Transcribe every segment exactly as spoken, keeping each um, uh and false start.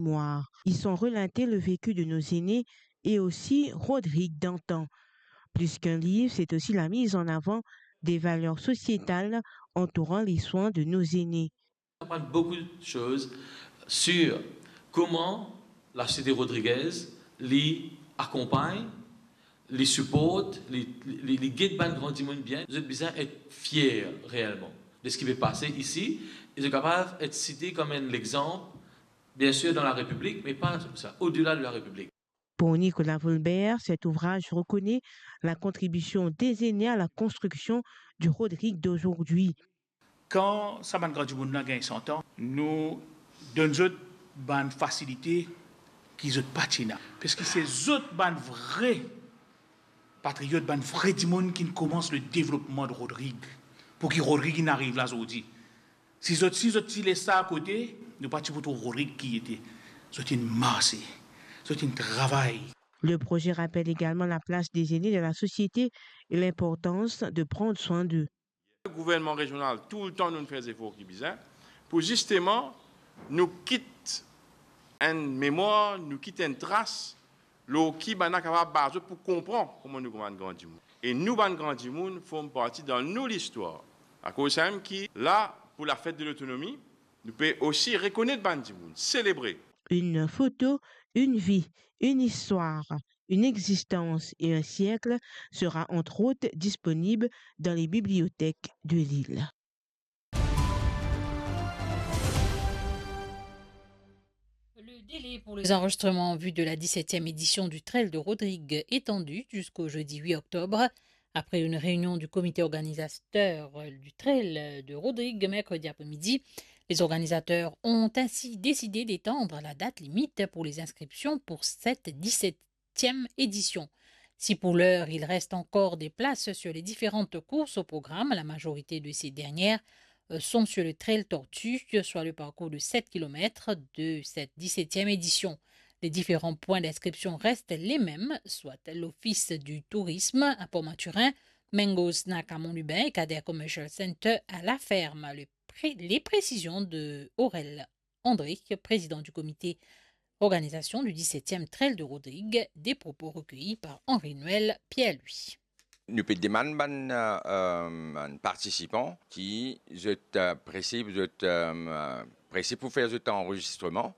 mémoire. Y sont relatés le vécu de nos aînés et aussi Rodrigue d'antan. Plus qu'un livre, c'est aussi la mise en avant des valeurs sociétales entourant les soins de nos aînés. On apprend beaucoup de choses sur comment la société rodriguaise li akonpagn, li siport, li, li, li get bann gran dimoun bien. Zot bizin et fier reelman de seki pe pase isi, e zot kapav et site kom enn lexanp, bien sûr dans la République, mais pas ça, au-delà de la République. Pour Nicolas Volbert, cet ouvrage reconnaît la contribution des aînés à la construction du Rodrigue d'aujourd'hui. Kan sa bann gran dimoun la gagn san an, nou donn zot bann fasilite ki zot pa ti ena. Parski se zot bann vre patriot, bann vre dimoun ki koumans le devlopman de Rodrigue, pou ki Rodrigue inn ariv la zordi. Si zot, si zot ti les sa akote, nou pa ti pou trouv Rodrigue ki ete. Zot inn marse, zot inn travay. Le projet rappelle également la place des aînés dans la société et l'importance de prendre soin d'eux. Gouvernman rezional, toultan nou fer zefor ki bizin pou zisteman nou kit enn memwar, nou kit enn tras lor ki bann la kapav baz zot pou konpran kouma nou kouma enn gran dimoun. E nou bann gran dimoun form parti dan nou listwar. Akoz samem ki la, pou lafet de lotonomi, nou pe osi rekonet bann dimoun, selebre. Une photo, une vie, une histoire, une existence et un siècle sera entre autres disponible dans les bibliothèques de l'île. Le délai pour les enregistrements en vue de la dix-septième édition du Trail de Rodrigue étendu jusqu'au jeudi huit octobre. Après une réunion du comité organisateur du Trail de Rodrigue mercredi après-midi, les organisateurs ont ainsi décidé d'étendre la date limite pour les inscriptions pour cette dix-septième édition. Si pour l'heure, il reste encore des places sur les différentes courses au programme, la majorité de ces dernières, euh, sont sur le Trail Tortue, soit le parcours de sept kilomètres de cette dix-septième édition. Les différents points d'inscription restent les mêmes, soit l'Office du Tourisme à Port-Mathurin, Mango Snack à Mont-Lubin et Kader Commercial Center à La Ferme. Le pré-, les précisions de Aurel André, président du comité organisation du dix-septième Trail de Rodrigue, des propos recueillis par Henri-Noël Pierre-Louis. Nou pe demann bann, euh, bann partisipan ki zot, euh, prese, zot, euh, prese pou fer zot anrezistreman,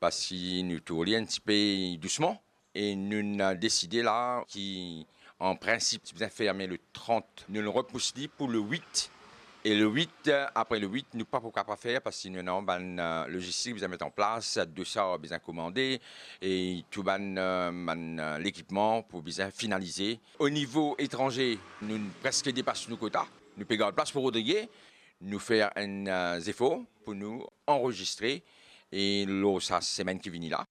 parski nou tourn li enn tipe dousman, e nou inn deside la ki, an prinsip, ti bizin ferme le trant, nou repous li pou le wit. E le wit, apre le wit, nou pa pou kapav fer, parski nou ena bann, euh, lozistik bizin met an plas, dosar bizin komande, e tou bann, euh, bann, euh, lekipman pou bizin finalize. O nivo etranze, nou preske depas nou kota. Nou pe gard plas pou Rodrigue, nou fer enn, euh, zefor pou nou anrezistre, e lor sa semenn ki vini la.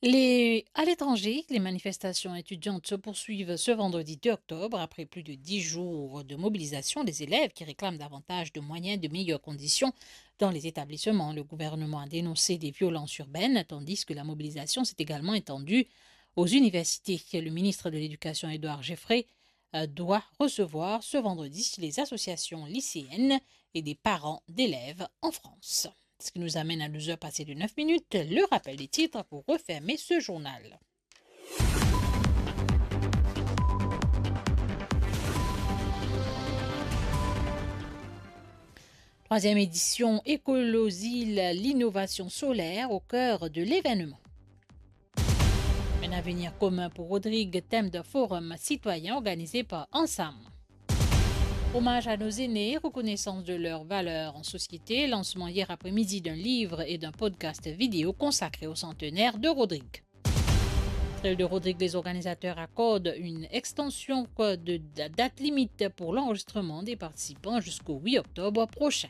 Les, à l'étranger, les manifestations étudiantes se poursuivent ce vendredi deux octobre. Après plus de dix jours de mobilisation, les élèves qui réclament davantage de moyens, de meilleures conditions dans les établissements. Le gouvernement a dénoncé des violences urbaines, tandis que la mobilisation s'est également étendue aux universités. Le ministre de l'Éducation, Édouard Geffray, euh, doit recevoir ce vendredi les associations lycéennes et des parents d'élèves en France. Ce qui nous amène à douze heures passées de neuf minutes, le rappel des titres pour refermer ce journal. Troisième édition Écolosil, l'innovation solaire au cœur de l'événement. Un avenir commun pour Rodrigue, thème d'un forum citoyen organisé par Ansam. Hommage à nos aînés, reconnaissance de leur valeur en société, lancement hier après-midi d'un livre et d'un podcast vidéo consacré au centenaire de Rodrigue. Trail de Rodrigue, les organisateurs accordent une extension de la date limite pour l'enregistrement des participants jusqu'au huit octobre prochain.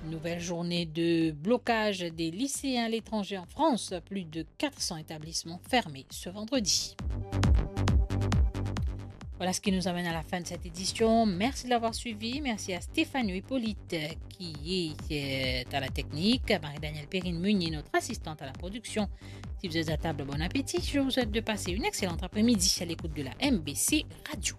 Nouvelle journée de blocage des lycéens à l'étranger en France. Plus de quatre cents établissements fermés ce vendredi. Voilà ce qui nous amène à la fin de cette édition. Merci de l'avoir suivi. Merci à Stéphanie Hippolyte qui est, euh, à la technique, à Marie-Danielle Perrine Meunier, notre assistante à la production. Si vous êtes à table, bon appétit. Je vous souhaite de passer une excellente après-midi à l'écoute de la M B C Radio.